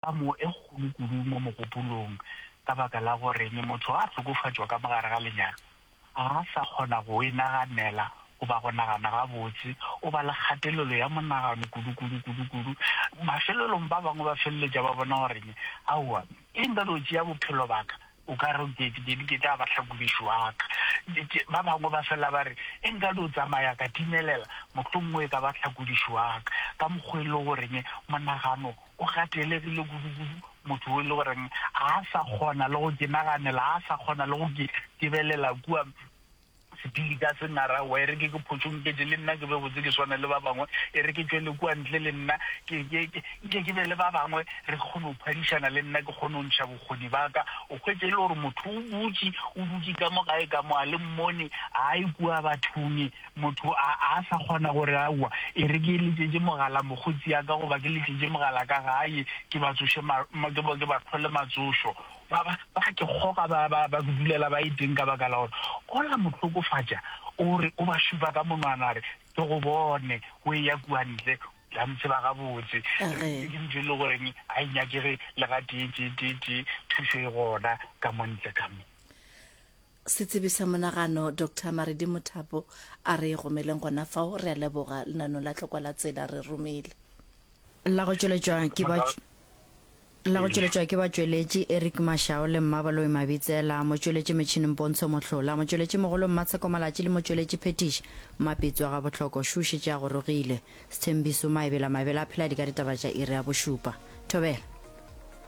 Tlamo e kgolo kudu mo mogopolong ka baka la gore motho a hlokofatšwa ka mo gare ga lenyalo, ga a sa kgona go e naganela goba go nagana gabotse, o ba le kgatelelo ya monagano kudu-kudu, kudu-kudu. Mafelelong ba bangwe ba feleletša ba bona gore aowa, e nka no tšea bophelo ba ka, o ka re ke, ke, ke tla ba hlakodiši wa ka. Ba bangwe ba fela ba re, e nka no tsamaya ka timelela, mohlomongwe e ka ba hlakodiši wa ka. Ka mokgwa e le goreng monagano o gatelegile kudu-kudu, motho o e le goreng ga a sa kgona le go ke naganela, ga a sa kgona le go ke tebelela kua sepili ka se nara, wa e re ke ke photšonketše le nna ke be botse ke swane le ba bangwe, e re ke tšwele kua ntle le nna ke, ke, ke, nke ke be le ba bangwe re kgone go phadišana le nna ke kgone go ntšha bokgoni ba ka. O hwetše e le gore motho o butše, o dutše ka mo gae ka mo a le mmone, a ye kua bathong, Motho a a sa kgona gore, Aowa, e re ke letšetše mogala mokgotsi ya ka goba ke letšetše mogala ka gae ke ba tsoše ma, ma, ke ba, ke ba hlole matsošo. Ba, ba, ba ke kgoga ba, ba, ba dulela ba e teng ka baka la gore ola mo hlokofatša, o re, o ba šupa ka monwana a re, Ke go bone o eya kua ntle, o tla ntseba gabotse. Ge. Ke ntho e le goreng ga e nyakege le gatee, tee, tee, tee, thušo e gona ka mo ntle ka mo. Setsebi sa monagano Doctor Maredi Mothapo a re gomeleng gona fao. Re a leboga lenanong la Tlokwa la Tsela re romile. La go tšweletšwa ke ba La go tšweletšwa ke batšweletši Eric Mashau le Mmabaloi Mabitsela, motšweletši metšhineng Pontsho Mohlola, motšweletši mogolo Mmatsheko Malatši le motšweletši phethiši Mmapitsi wa Gabohloko Shu šetše a gorogile. Sthembiso Maebela Maebela a phela di ka ditaba tša iri ya bošupa. Thobela.